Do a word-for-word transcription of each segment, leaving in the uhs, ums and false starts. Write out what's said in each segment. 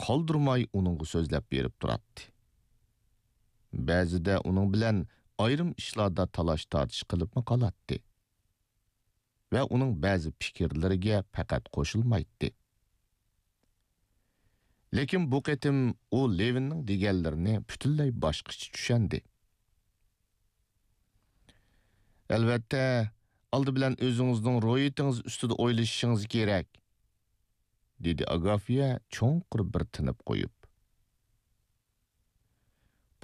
قالدۇرماي ئۇنىڭغا سۆزلەپ بېرىپ تۇراتتى. بەزىدە ئۇنىڭ بىلەن ئايرىم ئىشلاردا تالاش-تارتىش قىلىپمۇ قالاتتى ۋە ئۇنىڭ بەزى پىكىرلىرىگە پەقەت قوشۇلمايتتى. لېكىن بۇ قېتىم ئۇ لېۋىننىڭ دېگەنلىرىنى پۈتۈنلەي باشقىچە چۈشەندى. «ئەلۋەتتە، ئالدى بىلەن ئۆزىڭىزنىڭ روھىيىتىڭىز ئۈستىدە ئويلىشىشىڭىز كېرەك»، دېدى ئاگافيا چوڭقۇر بىر تىنىپ قويۇپ.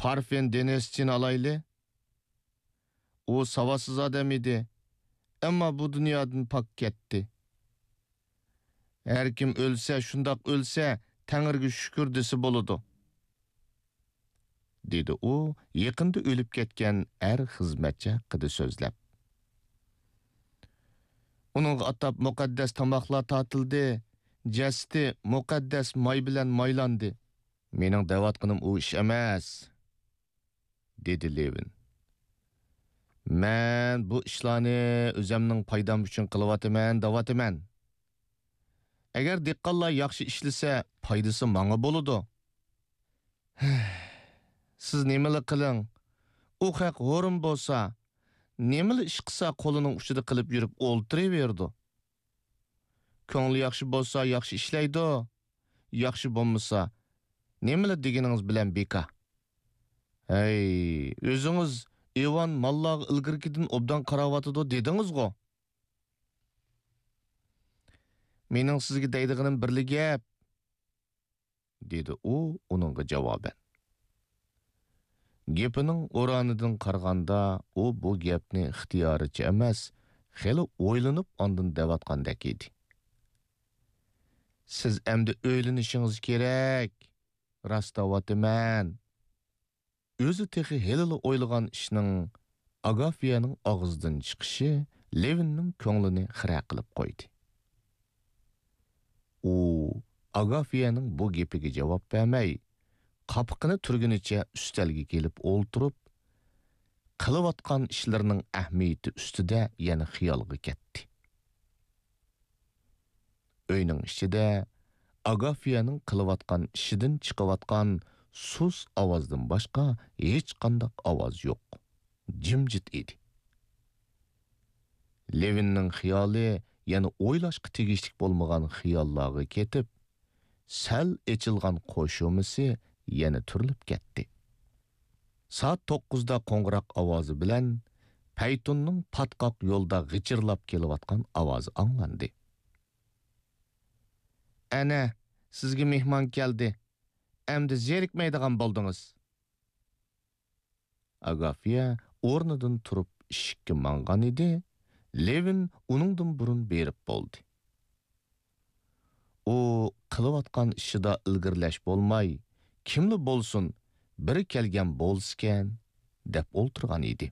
«پارفېن دېنىسچىنى ئالايلى. ئۇ ساۋاتسىز ئادەم ئىدى، ئەمما بۇ دۇنيادىن پاك كەتتى. ھەركىم ئۆلسە، شۇنداق ئۆلسە، تەڭرىگە شۈكۈر دېسە بولىدۇ»، دېدى ئۇ يېقىندا ئۆلۈپ كەتكەن ئەر خىزمەتچى ھەققىدە سۆزلەپ. «ئۇنىڭغا ئاتاپ مۇقەددەس تاماقلار تارتىلدى، جەسىتى مۇقەددەس ماي بىلەن مايلاندى.» «مېنىڭ دەۋاتقىنىم ئۇ ئىش ئەمەس»، دېدى لېۋىن. «مەن بۇ ئىشلارنى ئۆزەمنىڭ پايدام ئۈچۈن قىلىۋاتىمەن، دەۋاتىمەن. ئەگەر دېھقانلار ياخشى ئىشلىسە، پايدىسى ماڭا بولىدۇ. سىز نېمىلا قىلىڭ، ئۇ خەق ھورۇن بولسا، نېمىلا ئىش قىلسا، قولىنىڭ ئۇچىدا قىلىپ يۈرۈپ ئولتۇرۇۋېرىدۇ. كۆڭلى ياخشى بولسا، ياخشى ئىشلەيدۇ، ياخشى بولمىسا، نېمىلا دېگىنىڭىز بىلەن بىكار. ھەي، ئۆزىڭىز ئىۋان ماللارغا ئىلگىرىكىدىن ئوبدان قاراۋاتىدۇ دېدىڭىزغۇ؟» «مېنىڭ سىزگە دەيدىغىنىم بىرلا گەپ»، دېدى ئۇ ئۇنىڭغا جاۋابەن. گېپىنىڭ ئورانىدىن قارىغاندا، ئۇ بۇ گەپنى ئىختىيارىچە ئەمەس، خېلى ئويلىنىپ ئاندىن دەۋاتقاندەك ئىدى. «سىز ئەمدى ئۆيلىنىشىڭىز كېرەك، راست دەۋاتىمەن.» ئۆزى تېخى ھېلىلا ئويلىغان ئىشنىڭ ئاگافيەنىڭ ئاغزىدىن چىقىشى لېۋىننىڭ كۆڭلىنى خىرە قىلىپ قويدى. ئۇ ئاگافيەنىڭ بۇ گېپىگە جاۋاب بەرمەي، قاپىقىنى تۈرگىنىچە ئۈستەلگە كېلىپ ئولتۇرۇپ، قىلىۋاتقان ئىشلىرىنىڭ ئەھمىيىتى ئۈستىدە يەنە خىيالغا كەتتى. ئۆينىڭ ئىچىدە ئاگافيەنىڭ قىلىۋاتقان ئىشىدىن چىقىۋاتقان سۇس ئاۋازدىن باشقا ھېچقانداق ئاۋاز يوق. جىمجىت ئىدى. لېۋىننىڭ خىيالى يەنە ئويلاشقا تېگىشلىك بولمىغان خىياللارغا كېتىپ، سەل ئېچىلغان قوشۇمىسى يەنە تۈرۈلۈپ كەتتى. سائەت توققۇزدا قوڭغۇراق ئاۋازى بىلەن پەيتۇننىڭ پاتقاق يولدا غىچىرلاپ كېلىۋاتقان ئاۋازى ئاڭلاندى. «ئەنە، سىزگە مېھمان كەلدى. ئەمدى زېرىكمەيدىغان بولدىڭىز.» ئاگافيا ئورنىدىن تۇرۇپ ئىشىككە ماڭغان ئىدى، لېۋىن ئۇنىڭدىن بۇرۇن بېرىپ بولدى. ئۇ قىلىۋاتقان ئىشىدا ئىلگىرىلەش بولماي، كىملا بولسۇن، بىرى كەلگەن بولسىكەن، دەپ ئولتۇرغان ئىدى.